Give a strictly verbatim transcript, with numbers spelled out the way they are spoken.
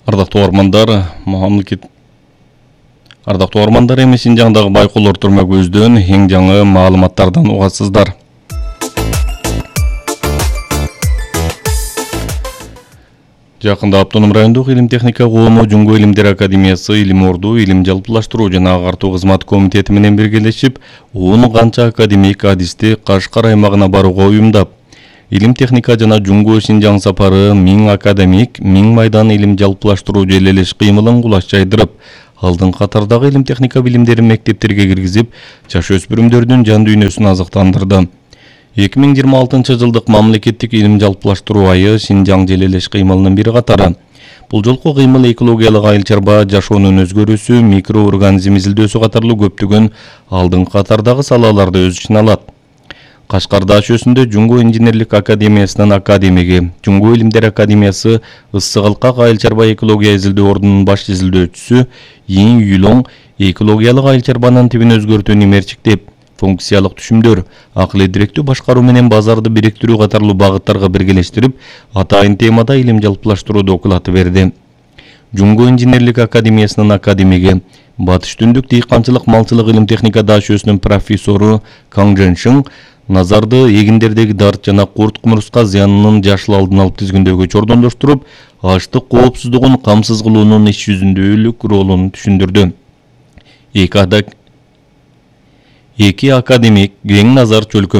Ардактуу армандар, мамлекет Ардактуу армандар, эми Синжаңдагы байкоолор турма көздөн эң жаңы маалыматтардан угасыздар. Жакында Автоном райондук илим техника коому Жуңго илимдер академиясы Илим Орду илим жалпылаштыруу жана агартуу кызмат комитети менен биргелешип, он канча академик адисти Кашкар аймагына барууга уюмдап, илим техника жана Жуңго Синжаң сапары миң академик, миң майдан илим жалпылаштыруу желелеш кыймылын кулаш жайдырып, алдын катардагы илим техника билимдерин мектептерге киргизип, жаш өспүрүмдөрдүн жан дүйнөсүн азыктандырды. эки миң жыйырма алтынчы жылдык мамлекеттик илим жалпылаштыруу айы Синжаң желелеш кыймылынын бир катары. Бул жолку кыймыл экологиялык айыл чарба, жашоонун өзгөрүүсү, микроорганизм изилдөөсү катарлуу көптөгөн алдын катардагы салаларды өз ичине алат. Кашкарда АШ-өсүндө Жуңго инженерлик академиясынын академиги, Жуңго илимдер академиясы Ысык Алкак айыл чарба экология изилдөө ордунун баш изилдөөчүсү Ийин Юлоң экологиялык айыл чарбанын тибин өзгөртүүнү мерчиктеп, функциялык түшүмдөр, акыл эдиректүү башкаруу менен базарды бириктирүү катарлуу багыттарга биргелештирип, атайын темада илим жалпылаштыруу доклады берди. Жуңго инженерлик академиясынын академиги, Батыш Түндүк дыйканчылык малчылык илим техникада АШ-өсүнүн профессору Каң Жэншиң назарды эгиндердеги дарт жана курт кумурска зыянынын жашыл алдын алып тизгиндөөгө чордондоштуруп, аштык коопсуздугун камсыз кылуунун иш жүзүндөлүк ролун түшүндүрдү. Эки академик кең назар чөлкөм